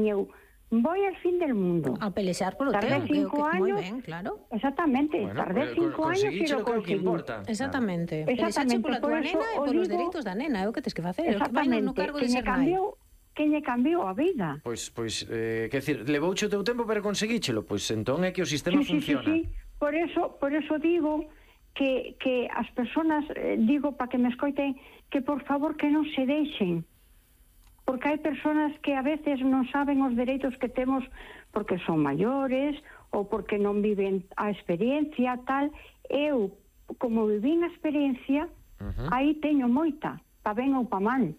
eu voy al fin del mundo. A pelexar polo Tardé teu, 5 moi años. ben, claro. Exactamente, tardé 5 años e lo conseguíchelo, que é o que conseguí. importa. Exactamente. Exactamente, Pelexache pola por tua eso nena e o polos digo- dereitos da nena, é o que tes que facer. Vai Exactamente, no cargo de que lle ser nai. cambiou a vida. Pois, quer dicir, levouche o teu tempo para conseguíchelo, pois entón é que o sistema funciona. Sí. Por eso digo que as persoas, digo para que me escoiten, que por favor que non se deixen. Porque hai persoas que a veces non saben os dereitos que temos porque son maiores ou porque non viven a experiencia, tal. Eu, como vivín a experiencia, aí teño moita, pa ben ou pa mal.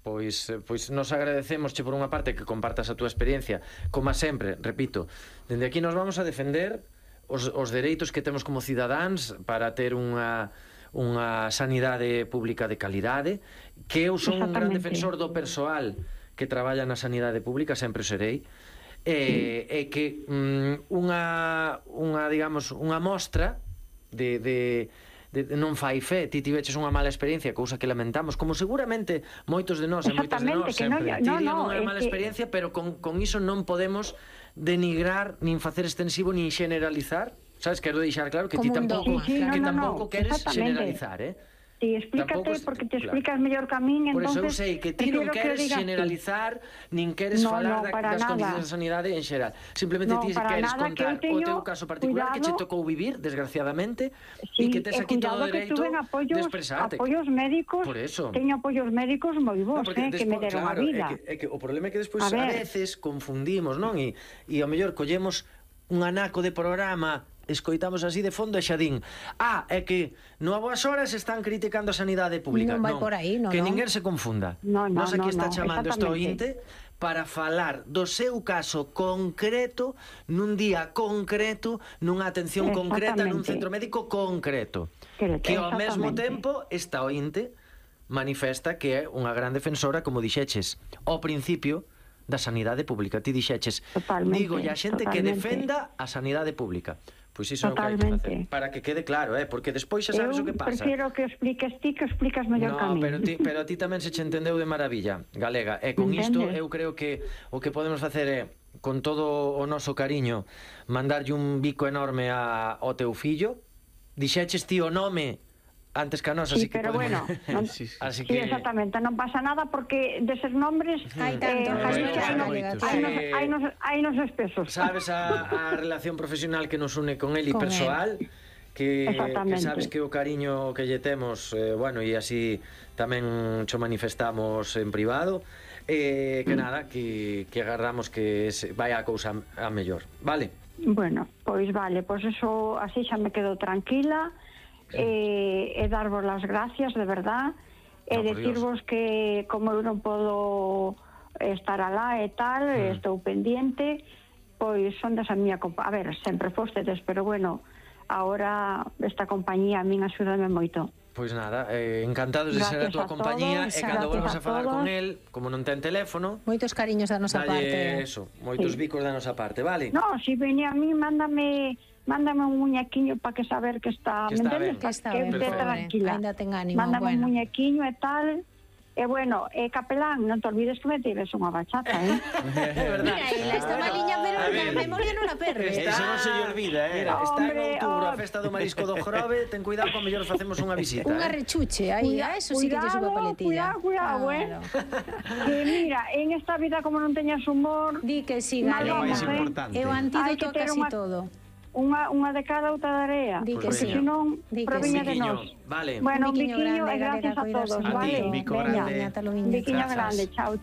Pois nos agradecemosche por unha parte que compartas a túa experiencia. Como sempre, repito, dende aquí nos vamos a defender os dereitos que temos como cidadáns para ter unha sanidade pública de calidade, que eu son un gran defensor do persoal que traballa na sanidade pública, sempre o serei, e que unha mostra de non fai fe, ti tiveches unha mala experiencia, cousa que lamentamos, como seguramente moitos de nós e moitas de nós sempre tirían unha mala experiencia, pero con iso non podemos denigrar, nin facer extensivo, nin generalizar. Sabes, quero deixar claro que ti tampouco queres generalizar, Ti explícate, porque te explicas mellor que a min, por entonces... Por eso eu sei que ti non queres generalizar, nin queres falar das condicións de sanidade en xeral. Simplemente ti queres contar o teu caso particular que che tocou vivir, desgraciadamente, e que tes aquí todo o dereito de expresarte. Apoios médicos, teño apoios médicos moi bons, que me deron a vida. O problema é que despois a veces confundimos, non? E ao mellor collemos un anaco de programa, escoitamos así de fondo e xa din: é que no a boas horas están criticando a sanidade pública. Non vai por aí, non. Que ninguén se confunda. Nos aquí está chamando este ointe para falar do seu caso concreto, nun día concreto, nunha atención concreta, nun centro médico concreto. Que ao mesmo tempo esta ointe manifesta que é unha gran defensora, como dixeches ao principio, da sanidade pública. Ti dixeches: digo a xente que defenda a sanidade pública. Pois iso é o que hai que facer, para que quede claro, porque despois xa sabes o que pasa. Eu prefiro que expliques ti, que explicas mellor que a mí. Pero a ti tamén se che entendeu de maravilla, Galega, e con isto eu creo que o que podemos facer é, con todo o noso cariño, mandarlle un bico enorme ao teu fillo. Dixeches ti o nome antes que a nós, así que pero podemos... bueno, sí, exactamente, non pasa nada porque deses nombres hai nos espesos. Sabes a relación profesional que nos une con él e persoal, que sabes que o cariño que lle temos, bueno, e así tamén cho manifestamos en privado, que nada, que agarramos que vai a cousa a mellor, vale? Bueno, pois vale, pois eso así xa me quedo tranquila. E darvos las gracias de verdad, e decirvos que como eu non podo estar alá e tal, estou pendiente, pois son desa miña compañía. A ver, sempre fostedes, pero bueno, ahora esta compañía a min axúdame moito. Pois nada, encantados de ser a tua compañía, e cando volvas a falar con el, como non ten teléfono, moitos cariños da nosa parte. Eso, moitos bicos da nosa parte, vale? No, se vene a mí, mándame un muñequiño para que saber que está, que está ben, tranquila. Ainda ten ánimo, mándame un muñequiño e tal. E bueno, capelán, non te olvides que me tires unha bachata, É verdad. Mira, esta maliña, pero a memoria non a perde. Eso non se lle olvida, Mira, está en outubro a festa do marisco do Jorobe, ten cuidado, con mellor facemos unha visita. Unha rechuche, aí, eso sí que lle suba paletilla. Cuidado, Que mira, en esta vida como non teñas humor... Di que sí, Galega, é o antídoto a casi todo. Unha de cada, outra de area. Porque senón proviña de nós. Vale. Bueno, un biquiño e gracias a todos, vale? Un bico grande. Un biquiño grande, chao.